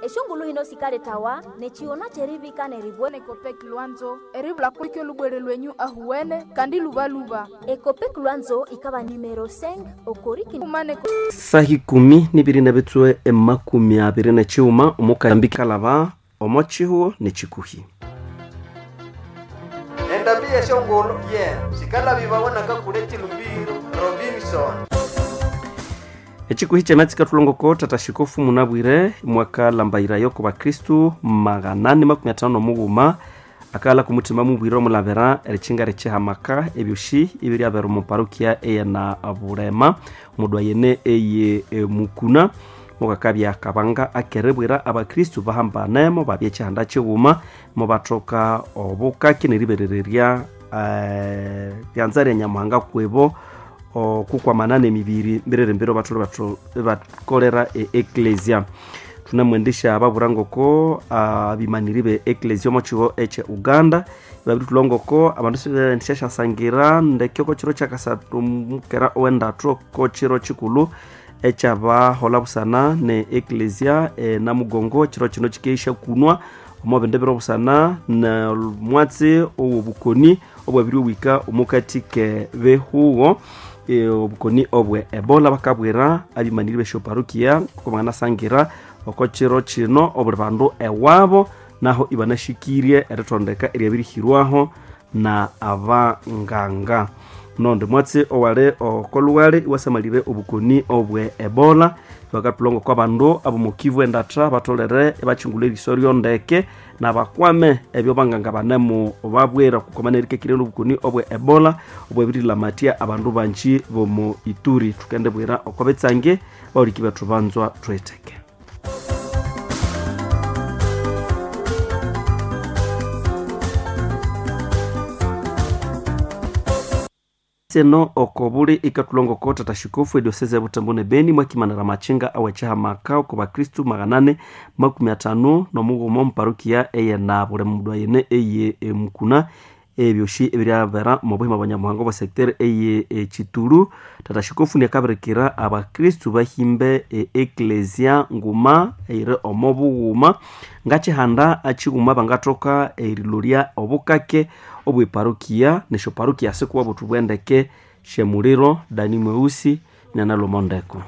Eshongulu hino sikaletawa nechiona cherivika neribwe Ekopek Lwanzo eribula kwikyo lubwere lwenyu ahuwene kandi lubaluba. Ekopek Lwanzo ikaba numero 5 okoriki Kumane Sahi 12 na bitswe 29 omukambi kalaba omo chihuo nechikuhi. Endambi yeshongolo ye sikalabibawanaka kule chilumbiro Robinson. Echikuhi chamatsika tulongoko tata shikofu munabwire mwaka lambairayo ku bakristu 851 akala kumutima mubwire omulabira erichinga richihamaka ebyoshi ibiryabera omu parokia eyena bulema mudwa yene eye mukuna mukakabya kabanga akerebwera abakristu bahambanemo babya chihanda chighuma mubathoka obukaki neriberererya ryanza rya nyamuhanga kwebo okukwamana nemibiri mbirere bathole bakolera e eklesia tunamwendesha ababura ngoko abimaniri be eklesia omo chiho eche Uganda babiri tulongoko abandu sibendishashasangira ndeke oko chiro kyakasathu mukera owendathu oko chiro chikulu ekyabahola busana ne eklesia namugongo chiro chino chikeisha kunwa omo bindi biro busana na mwatsi owobukoni obwabiri owika omukati ke behugo obukoni obwe ebola bakabwira abimaniri besyoparukia kubanganasangira oko chiro chino obuli bandu ewabo naho ibanashikirie erithondeka eryabirihirwaho na abanganga. Nondi mwatsi owali okoluwali iwasamalire obukoni obwe ebola bakatulongo kwa bandu abomukivu endatha batolere ibachingula eriso ryondeke nabakwame ebyo banganga banemu babwira kukomana erikekire obukoni obwe ebola obwebirilamathya abandu banji bomu Ituri. Tukendebwira oko betsange bahuliki bethu banzwa thwetheke. Seno okobuli ikatulongoko tata shikofu edioseze ya Butembo ne Beni mwakimanira machinga awechihamaka oko bakristu 853 muparukia eyena buli mundu ayene eye emukuna ebyoshi ebiryabera mu buhima bwa nyamuhanga obwa secteur eye echitulu. Tata shikofu niakabirikira abakristu bahimbe eklesia nguma eyiri omo bughuma ngachihanda achighuma bangathoka erilolya obukake obweparukia nesyoparukia sikuwa buthu bwendeke shemuliro Dani Mweusi nanalomondeko.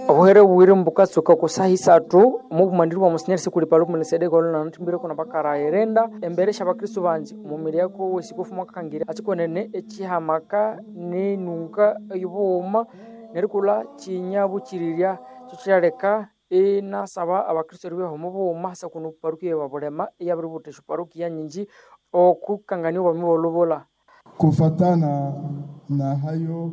Obuhere bubiri mbukatsuka oko saha isathu omubumaniri bwa Monsinyeri Sikuli Paluku Melikisedeki olhunanathimbireko nabakara erenda embere syabakristu banji omumiri yako wesikofu mwakakangirya achikonene echihamaka nenunga eyobughuma nerikulha kinyabukirirya kyo kyaleka inasaba abakristu eribyaho omubughuma hasa kuno parukia ya Bulema eyabiributha esyoparukia nyinji okukangania obwami bw'olubulha. Kufatana na hayo.